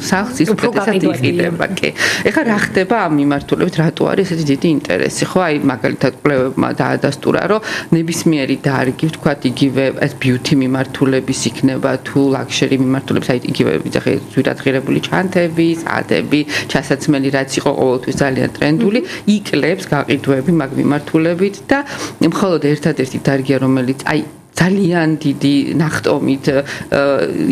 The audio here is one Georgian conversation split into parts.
სახლს ის უპირატესად იყიდება, კი. ეხლა რა ხდება ამ მიმართულებით, რატო არის ესეთი დიდი ინტერესი, ხო? აი მაგალითად კვლევებმა დაადასტურა, რომ ნებისმიერი დარგი, ვთქვათ, იგივე ეს beauty მიმართულების იქნება თუ luxury მიმართულების, აი იგივე ვიძახე ძვირადღირებული ჩანთები, საათები, ჩასაცმელი რაც იყო ყოველთვის ძალიან ტრენდული, იკლებს გაყიდვები მაგ მიმართულებით და მხოლოდ ერთადერთი დარგია, რომელიც აი ძალიან დიდი ნახტომით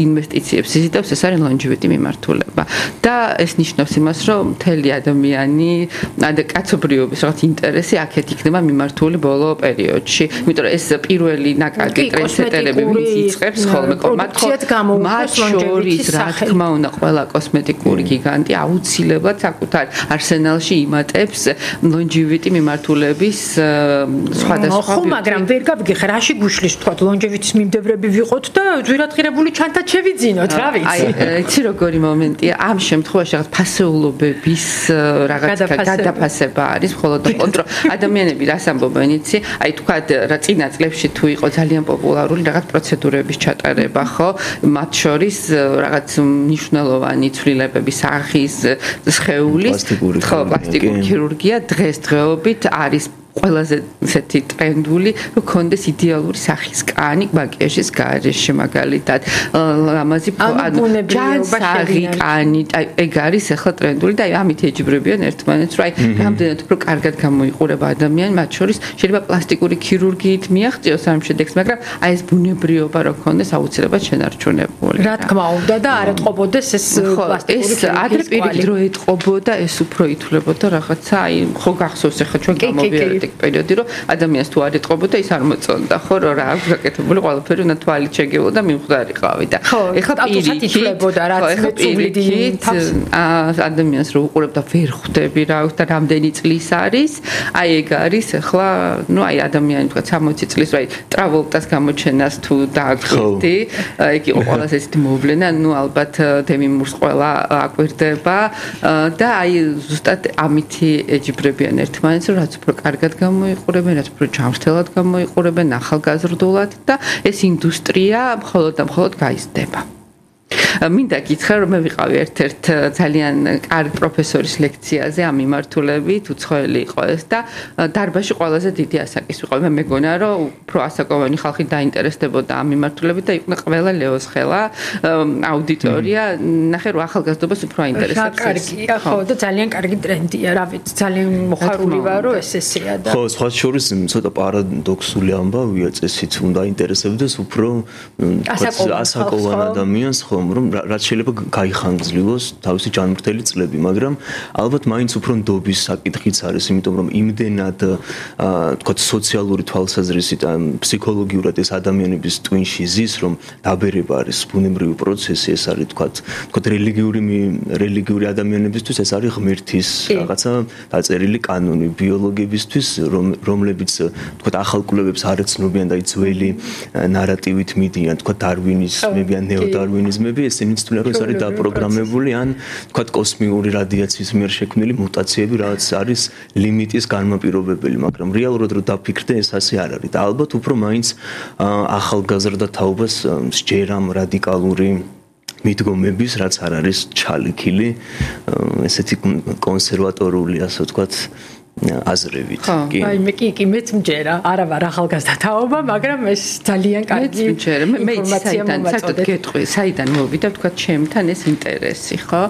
ინვესტიციებს იზიდავს, ეს არის longevity მიმართულება. და ეს ნიშნავს იმას, რომ მთელი ადამიანი და კაცობრიობის რაღაც ინტერესი აქეთ იქნება მიმართული ბოლო პერიოდში. იმიტომ რომ ეს პირველი ნაკადი ტრენდსეტერები ვინც იწყებს ხოლმე მათ შორის რა თქმა უნდა ყველა კოსმეტიკური გიგანტი აუცილებლად საკუთარ არსენალში იმატებს longevity მიმართულების სხვადასხვა. ხო, მაგრამ ვერ გავიგე რაში გუშლის თქვა longevity-ის მიმდევრები ვიყოთ და ძვირადღირებული ჩანთად შევიძინოთ, რა ვიცი. აი, იცი როგორი მომენტია, ამ შემთხვევაში რაღაც ფასეულობების რაღაც გადაფასება არის, მხოლოდ კონტროლ ადამიანები რას ამბობენ, იცი? აი, თქვა რა წინა წლებში თუ იყო ძალიან პოპულარული რაღაც პროცედურების ჩატარება, ხო? მათ შორის რაღაც მნიშვნელოვანი ცვლილებების სახის სხეულის, ხო, პლასტიკური ქირურგია დღესდღეობით არის ყველაზე ესეთი ტრენდული, რომ კონდეს იდეალური სახის კანი მაკიაჟის გარეშე მაგალითად. ლამაზი ჯანსაღი კანი, ეგ არის ახლა ტრენდული და ამით ეჯიბრებიან ერთმანეთს, რომ აი რამდენად უფრო კარგად გამოიყურება ადამიანი, მათ შორის შეიძლება პლასტიკური ქირურგიით მიაღწიოს ამ შედეგს, მაგრამ აი ეს ბუნებრიობა რო კონდეს აუცილებლად შენარჩუნებული. რა თქმა უნდა და არ ეთყობოდეს ეს პლასტიკური ეს ადრე პირიქით რო ეთყობოდა, ეს უფრო ითვლებოდა რაღაცა, აი ხო გახსოვს ახლა ჩვენ გამოვიარეთ პერიოდი რომ ადამიანს თუ არ ეთყობოდა ის არ მოწონდა ხო რა აქვს გაკეთებული ყველაფერი უნდა თვალით შეგეულო და მიმხდარიყავი და ეხლა პირიქით რაც მეწულიდი ადამიანს რო უყურებ და ვერ ხვდები რა აქვს და რამდენი წლის არის აი ეგ არის ახლა ნუ აი ადამიანი თქვა 60 წლის აი ტრაvoltas გამოჩენას თუ დააკვირდი ეგ იყო ყველაზე ესეთი მოვლენა ნუ ალბათ დემი მურს ყველა აკვირდება და აი ზუსტად ამითი ეჯიბრებიან ერთმანეთს რომ რაც უფრო კარგად გამოიყურებენ, რაც უფრო ჯანმრთელად გამოიყურებენ, ახალგაზრდულად და ეს ინდუსტრია მხოლოდ და მხოლოდ გაიზრდება. მინდა გითხრა რომ მე ვიყავი ერთ-ერთ ძალიან კარგი პროფესორის ლექციაზე ამ მიმართულებით, უცხოელი იყო ეს და დარბაზში ყველაზე დიდი ასაკის ვიყავი. მე მეგონა რომ უფრო ასაკოვანი ხალხი დაინტერესდებოდა ამ მიმართულებით და იყო ყველა ლეოს ხელა აუდიტორია, ნახე რომ ახალგაზრდობას უფრო აინტერესებს. კარგია, ხო და ძალიან კარგი ტრენდია, რა ვიცი, ძალიან მოხარული ვარ რომ ესეა და ხო, სხვა შორის ცოტა პარადოქსული ამბავია, წესით უნდა აინტერესებდეს უფრო ასაკოვან ადამიანს ხო რომ რაც შეიძლება გაიხანგრძლივოს თავისი ჯანმრთელი წლები, მაგრამ ალბათ მაინც უფრო ნდობის საკითხიც არის, იმიტომ რომ იმდენად თქვა სოციალური თვალსაზრისით ან ფსიქოლოგიურად ეს ადამიანების ტვინში ზის, რომ დაბერება არის ბუნებრივი პროცესი, ეს არის თქვა რელიგიური ადამიანებისთვის ეს არის ღმერთის რაღაცა დაწერილი კანონი, ბიოლოგებისთვის, რომლებიც თქვა ახალ კვლევებს არ ეცნობიან და ძველი ნარატივით მიდიან, თქვა დარვინიზმები ან ნეოდარვინიზმები ესენი თვითონ რომ ეს არის დაპროგრამებული ან თქვათ კოსმიკური რადიაციის მიერ შექმნილი მუტაციები, რაც არის ლიმიტის განმაპირობებელი, მაგრამ რეალურად რომ დაფიქრდე, ეს ასე არ არის. და ალბათ უფრო მაინც ახალგაზრდა თაობას სჯერამ რადიკალური მიდგომების, რაც არ არის ჩალიქილი, ესეთი კონსერვატორული, ასე ვთქვათ, აზრებით. კი. აი მე კი მეც მჯერა, არა ვარ ახალგაზრდა თაობა, მაგრამ ეს ძალიან კარგი ინფორმაცია მომაწოდეთ. საიდან მოვიდა თქვა ჩემთან ეს ინტერესი, ხო?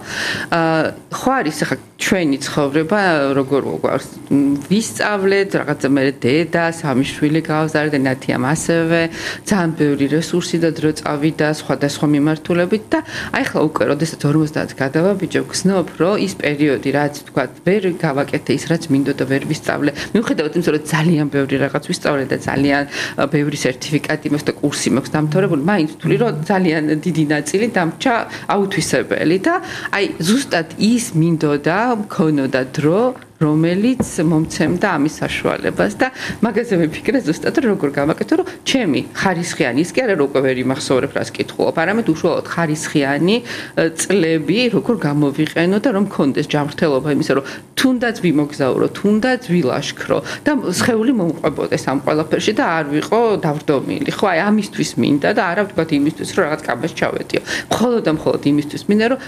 ხო არის ახლა ჩვენი ცხოვრება როგორ გვაქვს ვისწავლეთ რაღაცა მე დედა, სამი შვილი გავზარდე, ნათიამ ასევე ძალიან ბევრი რესურსი და დრო წავიდა სხვადასხვა მიმართულებით და აი ახლა უკვე როდესაც 50 გადავაბიჯებ, გზნობ რომ ის პერიოდი რაც თქვა ვერ გავაკეთე ის რაც მინდო და ვერ ვისწავლე. მიუხედავად იმისა, რომ ძალიან ბევრი რაღაც ვისწავლე და ძალიან ბევრი სერტიფიკატი მაქვს და კურსი მაქვს დამთავრებული, მაინც ვთვლი, რომ ძალიან დიდი ნაწილი დამრჩა აუთვისებელი და აი ზუსტად ის მინდოდა მქონოდა დრო რომელიც მომცემდა ამის საშუალებას და მაგაზე ვიფიქრე ზუსტად როგორ გავაკეთო რომ ჩემი ხარისხიანი ის კი არა რომ უკვე ვერ იმახსოვრებ რას კითხულობ, არამედ უშუალოდ ხარისხიანი წლები როგორ გამოვიყენო და რომ მქონდეს ჯანმრთელობა იმისა რომ თუნდაც ვიმოგზაურო, თუნდაც ვილაშქრო და სხეული მომყვებოდეს ამ ყველაფერში და არ ვიყო დავრდომილი. ხო, აი ამისთვის მინდა და არა ვთქვათ იმისთვის რომ რაღაც კაბას ჩავეტიო. მხოლოდ და მხოლოდ იმისთვის მინდა რომ